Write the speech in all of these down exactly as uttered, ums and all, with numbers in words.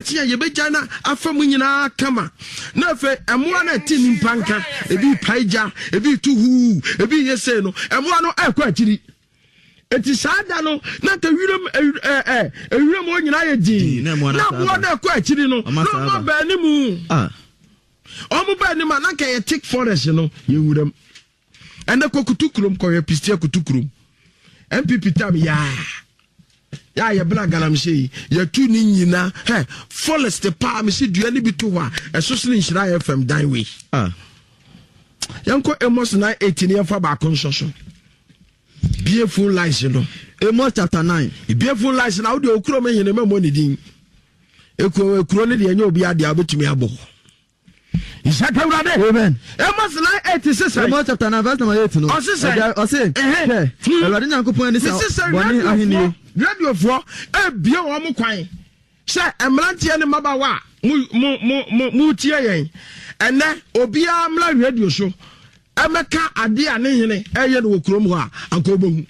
Kye a yɛbɛgya na afa mu nyinaa kama. Na afei mmoa no a ɛte nnipa nka, ebi repae gya, ebi retu huu, ebi reyɛ sei no, mmoa no ɛrekɔ akyiri. Eti saa da no, na nka wiram ɛ ɛ ewuram hɔ nyinaa yɛ dinn. Na mmoa no ɛkɔ akyiri no, na wɔn aba anim. Ah. Wɔn ba anim a, na nka yɛ thick forest no, yɛ wuram. Ɛnɛ kɔ kutu kurom kɔhwɛ pistia kutu kurom. N P P tam yaa. Yɛ a yɛbena galamsey yi, yɛtu ne nyina hɛ forest paa. Mesi dua no bi to hɔ a ɛso sene Nhyira F M dan wei. Ah. Yɛnkɔ Amos nine eight ne yɛmfa baako nsɔ so. Bie phone lines no. Amos chapter nine. Bie phone lines na wode okuro me hene mɛmmɔ ne din. Ekuro ekuro ne deɛ ɛnyɛ obi adeɛ a wobɛtumi abɔ. Nhyɛka Awurade. Amen. Amos nine eight sisɛ. Amos chapter nine verse number eight no. Ɔsisɛ. Ɛgya ɔse. Hwɛ. Awurade Nyankopɔn ani sa bɔne ahenni. Radiofoɔ ebie wɔn kwan sɛ mmeranteɛ ne mmabaawa a mo mo mo mo mo tie yɛn ɛnɛ, obiara mmra radio so ɛmɛka adeɛ a ne hene ɛyɛ no wɔ kurom hɔ a, anka wobɛhu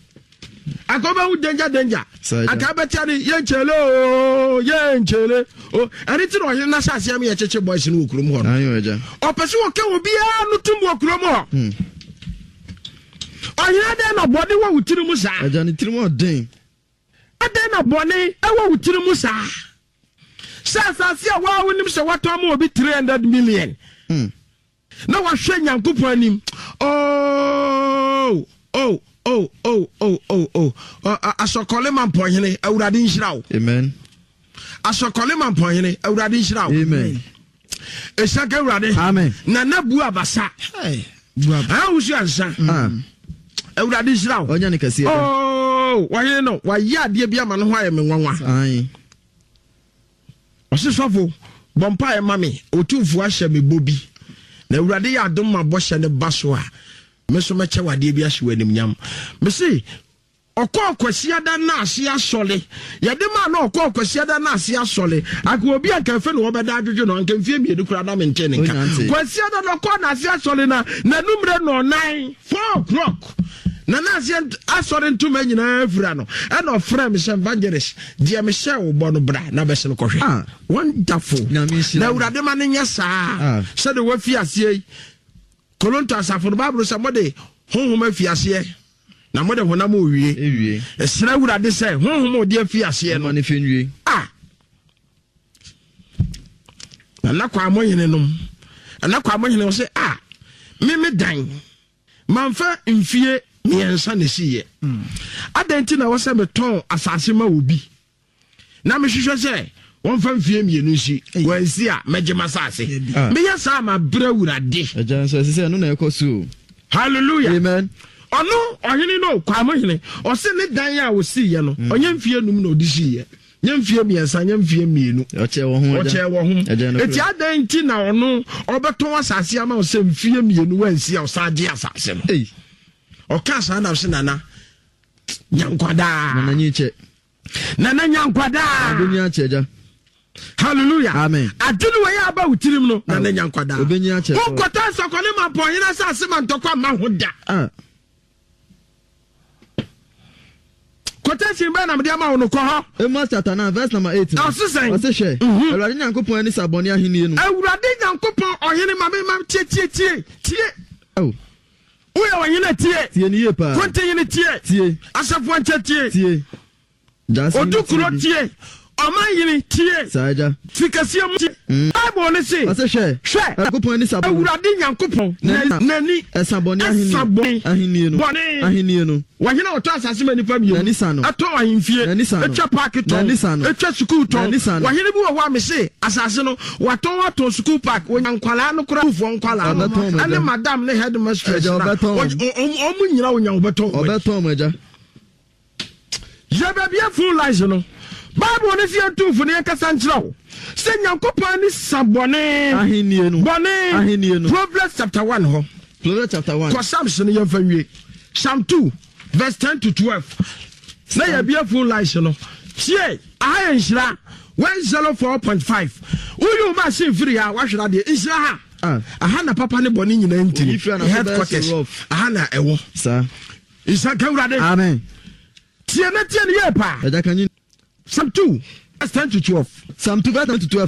anka wobɛhu danger danger. Anka bɛtia ne yɛnkyɛle o, yɛnkyɛle o. Ɛne ti na ɔhene no ahyɛ aseɛ ma yɛkyekye boys no wɔ kurom hɔ no. Ɔpɛ sɛ wɔka obiara no tom wɔ kurom hɔ. Hmm. Ɔhene, adɛn na bɔne wɔ wo tiri mu saa? Agya, ne tirim ɔden. Adɛn na bɔne ɛwɔ wo tiri mu saa sɛ asase a waa wonim sɛ watɔn ma obi three hundred million Hmm. na wahwɛ Nyankopɔn anim? oh oh oh oh oh oh oh Asɔkɔle ma mpɔhene, Awurade nhyira wo. Amen. Asɔkɔle ma mpɔhene, Awurade nhyira wo. Amen. Ɛsiaka Awurade. Amen. Nana bu abasa ahosu ansa. Ah. Awurade nhyira wo. Ɔnya ne kɛseɛ da. Oh, wɔhene no wayɛ adeɛ bi ama no ho ayɛ me nwanwa. Aye. Ɔse, "Sɔfo, bɔ mpaeɛ ma me, Ɔtumfoɔ ahyɛ me bɔ bi na Awurade yɛ adom ma bɔhyɛ no ba so a, me nso mɛkyɛ wadeɛ bi ahyɛ wɔ animnyam." Mese ɔkɔɔ Kwasiada no ase asɔre yɛde maa na ɔkɔɔ Kwasiada no ase asɔre anka obi anka ɛfɛ na wɔbɛda adwodwo no anka mfie mmienu koraa na mente ne nka. Onyante. Kwasiada no ɔkɔɔ n'ase asɔre na n'anummerɛ nɔɔnan, four o'clock, na n'ase asɔre ntoma nyinaa fira no, ɛna ɔfrɛ me sɛ, "Evangelist, deɛ mehyɛ wo bɔ no, bra na bɛsene kɔhwɛ." Ah. Wonderful. Nyame nhyira na no. Awurade ma no nyɛ saa Ah. sɛde wafi aseɛ yi. Koronto asafo no, Bible sɛ mode honhom afi aseɛ na mode honam owie. Ewie. Ɛsrɛ Awurade sɛ honhom a ɔde afi aseɛ no Ɔma ne fɛ nwie. A nana kwa mo hene nom, nana kwa mo hene wɔ sɛ a meme dan mamfa mfie mmiɛnsa na esiiɛ, adɛn nti na wɔ sɛ metɔn asase ma obi na mehwehwɛ sɛ wɔmfa mfie mmienu nsi, wɔansi a mɛgye m'asase? Ah. Meyɛ saa ma brɛ Awurade. Agya nso ɛsɛ sɛ ɛno na ɛkɔ so o. Hallelujah. Amen. Ɔno ɔhene no, Kwamo hene, ɔse ne dan a ɔsiiɛ no, ɔnyɛ mfie num na ɔde siiɛ, nyɛ mfie mmiɛnsa, nyɛ mfie mmienu. Ɔkyɛ wɔ ho, agya. Ɔkyɛ wɔ ho. Agya no. Eti adɛn nti na ɔno ɔbɛtɔn asase ama wo sɛ mfie mmienu wansi a ɔsan gye asase no? Ei. Ɔka saa nam sɛ, "Nana nyankwadaa." Nana nyi kyɛ. Nana nyankwadaa. Obenyi akyɛ, agya. Hallelujah. Amen. Ade no wɔyɛ aba wo tirim no, nana nyankwadaa. Obenyi akyɛ. Wonkɔtɔ nsɔkɔne ma mpɔhene asase ma ntɔkwa ma ho da. Ah. Quotation bɛɛ na mede ama wo no, kɔ hɔ. Amos chapter nine verse number eight no. Ɔse sɛn? Ɔse, hwɛ. Mhm. Awurade Nyankopɔn ani sa bɔne ahenni no. Awurade Nyankopɔn, ɔhene, ma me ma tie, tie, tie, tie. Oh. Woyɛ ɔhene, tie. Tie ne yie paa. Kontihene, tie. Tie. Asafo nkyɛ, tie. Tie. Gyaase hene, Odu kuro tie bi. tie. Ɔman hene, tie. Saa, agya. Fikɛseɛ mu tie. Bible ne se, Ɔse, hwɛ. Hwɛ. Nyankopɔn ani sa bɔne. Awurade Nyankopɔn N'ani- n'ani ɛsa bɔne ahenni. Ɛsa bɔne. Ahenni no. Bɔne. Ahenni no. Wɔhene a ɔtɔ asase ma nipa mmienu, N'ani sa no. ɛtɔ ahemfie, N'ani sa no. ɛtwa park tɔn, N'ani sa no. ɛtwa sukuu tɔn. N'ani sa no. Wɔhene bi wɔ hɔ a mese asase no watɔn, atɔn sukuu park, wɔnya nkwalaa no koraa, sukuufoɔ nkwalaa no Ɔbɛtɔn mo ɛne agya. madam ne headmistress Agya, na ɔbɛtɔn wɔn. ɔmo ɔmo nyina wonya wɔbɛtɔn wɔn. Ɔbɛtɔn mo, agya. Yɛ baabi a phone lines no. Bible ne sɛ yɛntumfo ne yɛnkasa nkyerɛ wo sɛ Nyankopɔn ani sa bɔne. Ahenni no. Bɔne. Ahenni no. Proverbs chapter one hɔ. Proverbs chapter one. Kɔ Psalms no, yɛmfa nwie. Psalm two verse ten to twelve na yɛbia phone lines no. Tie, aha yɛ Nhyira one zero four point five. Woyi wo machine firi ha, wahwere adeɛ. Nhyira ha. Ah. Aha na papa ne bɔne nyinaa ntiri. Oyi firi anafo bɛyɛ Headquarters so rough. aha na ɛwɔ. Saa. Nhyira ka Awurade. Amen. Tie na tie ne yie paa. Agya, ka nyi. Psalm two Ten to twelve. Psalm two verse ten to twelve.